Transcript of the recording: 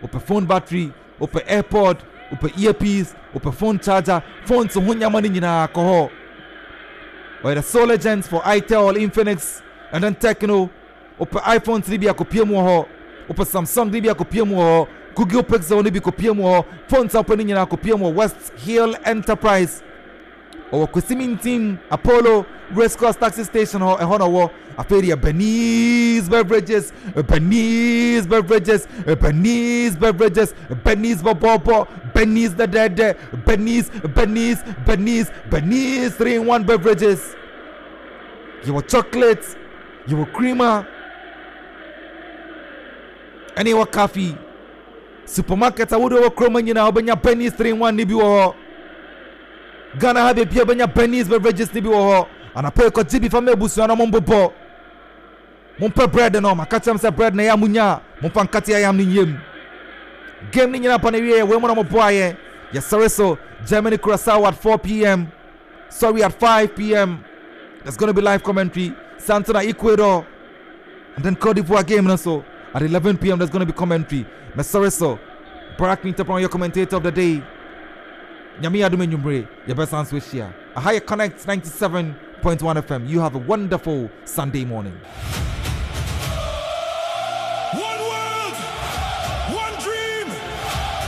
Wopɛ phone battery, wopɛ airpod, wopɛ earpiece, wopɛ phone charger, phones ho nneɛma no nyinaa kɔ hɔ. Ɔyɛ the sole agent for Itel, Infinix, and then Tecno. Wopɛ iPhones no bi a kɔpie mu wɔ hɔ. Wopɛ Samsung no bi a kɔpie mu wɔ hɔ. Google Pixel no bi kɔpie mu wɔ hɔ. Phones a wopɛ no nyinaa kɔpie mu wɔ West Hill Enterprise. Ɔwɔ Kwesimintim Apollo Race Course Taxi Station hɔ, ɛhɔ na ɔwɔ. Afei deɛ Bernice Beverages, Bernice Beverages, Bernice Beverages, Bernice bɔbɔbɔ, Bernice dɛdɛɛdɛ, Bernice, Bernice, Bernice, Bernice 3 in 1 Beverages. Yɛwɔ chocolate, yɛwɔ creamer, ɛne yɛwɔ coffee. Supermarket ahodoɔ wɔ kurom nyinaa wobɛnya Bernice 3 in 1 ne bi wɔ hɔ. Ghana ha baabi a wobɛnya Bernice beverages no bi wɔ hɔ. Anapa yi kɔgye bi fa ma abusua no mombobɔ. Mompɛ bread no, maka kyerɛ m sɛ bread na ɛyɛ a monya a, momfa nkate ayam no nyɛ mu. Game no nyinaa ba no wieɛ, wei mu na moboaeɛ. Yɛsɔre so, Germany Curacao at 4 pm. Sorry, at 5 pm. There's going to be live commentary. Santana Ecuador. And then Cote d'Ivoire game no so at 11 pm. There's going to be commentary. Mesɔre so. Barack Minta Brown, your commentator of the day. Nyame adom anwummere yɛbɛsan so ahyia. Aha yɛ Connect 97.1 FM. You have a wonderful Sunday morning.